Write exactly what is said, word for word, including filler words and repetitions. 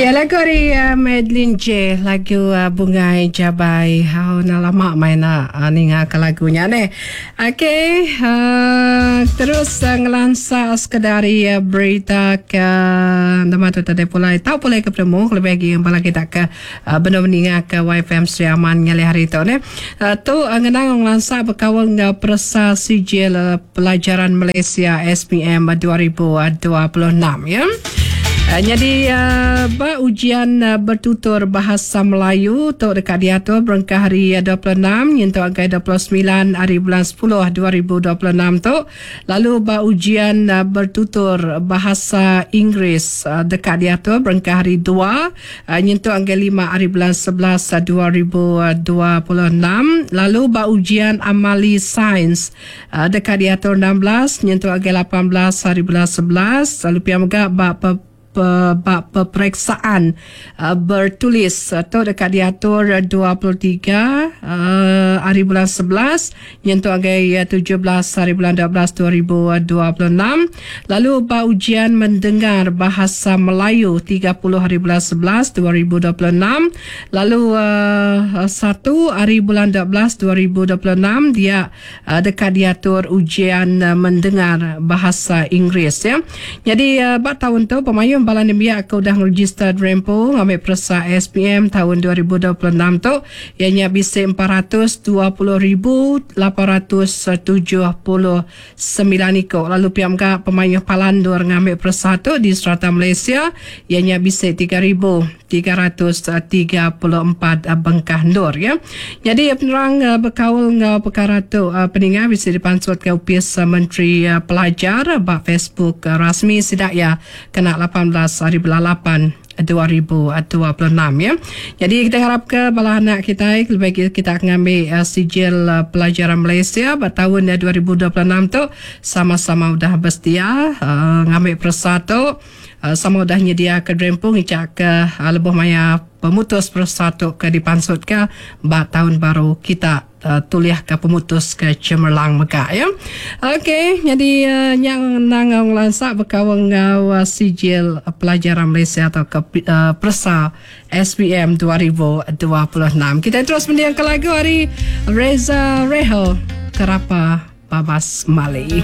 Ya, lagu ari uh, Madeline J, lagu uh, Bungai Jabai. Oh, dah lama main nak uh, ninga ke lagunya ni. Okey, uh, terus uh, ngelansa sekadar uh, berita ke nama tu tadi pulai. Tahu pulai ke penemu lebih lagi yang bala kita ke uh, benar meninggal ke Y F M Sri Aman ngalih hari tu ni. Uh, tu uh, ngenang ngelansa berkawal dengan peresa sijil uh, pelajaran Malaysia S P M dua ribu dua puluh enam ya. Uh, jadi uh, ba ujian uh, bertutur bahasa Melayu tu dekat diatur berengkah hari uh, dua puluh enam nyentuk angkai dua puluh sembilan hari bulan sepuluh dua ribu dua puluh enam tu. Lalu ba ujian uh, bertutur bahasa Inggeris uh, dekat diatur berengkah hari dua uh, nyentuk angkai lima hari bulan sebelas uh, dua ribu dua puluh enam. Lalu ba ujian amali sains uh, dekat diatur enam belas nyentuk angkai lapan belas hari bulan sebelas. Lalu pia mega ba pe bab peperiksaan uh, bertulis atau uh, dekat diatur dua puluh tiga uh, hari bulan sebelas nyentuk agai uh, tujuh belas hari bulan dua belas dua ribu dua puluh enam. Lalu bab ujian mendengar bahasa Melayu tiga puluh hari bulan sebelas dua ribu dua puluh enam. Lalu uh, satu hari bulan dua belas dua ribu dua puluh enam dia uh, dekat diatur ujian uh, mendengar bahasa Inggeris ya. Jadi uh, bab tahun tu pemayung Balan Nembiak aku dah register Rempo ngambil peresa S P M tahun dua ribu dua puluh enam tu ianya bisa empat ratus dua puluh ribu lapan ratus tujuh puluh sembilan ikut. Lalu P M K pemayuh palandur ngambil peresa tu di serata Malaysia ianya bisa tiga ribu tiga ratus tiga puluh empat bengkah nur ya. Jadi penerang berkaul ngau perkara tu peningat bisa dipansut ke U P S Menteri Pelajar bak Facebook rasmi sidak ya kena lapan belas hari bulan lapan dua ribu dua puluh enam ya. Jadi kita harap ke bala anak kita lebih kita akan ambil uh, sijil uh, pelajaran Malaysia pada tahun uh, dua ribu dua puluh enam tu sama-sama udah bersedia uh, ngambil peresa tu uh, sama udah nyedia ke drempung ngicak ke uh, lebuh maya pemutus peresa tu ke dipansut ke bak tahun baru kita uh, tuliah ke pemutus ke cemerlang mega ya. Okey, jadi uh, yang nang lansak berkawang ngau uh, sijil pelajaran Malaysia atau ke uh, peresa S P M dua ribu dua puluh enam. Kita terus mendengarkan lagu hari Reza Rehal Kerapa Babas Mali.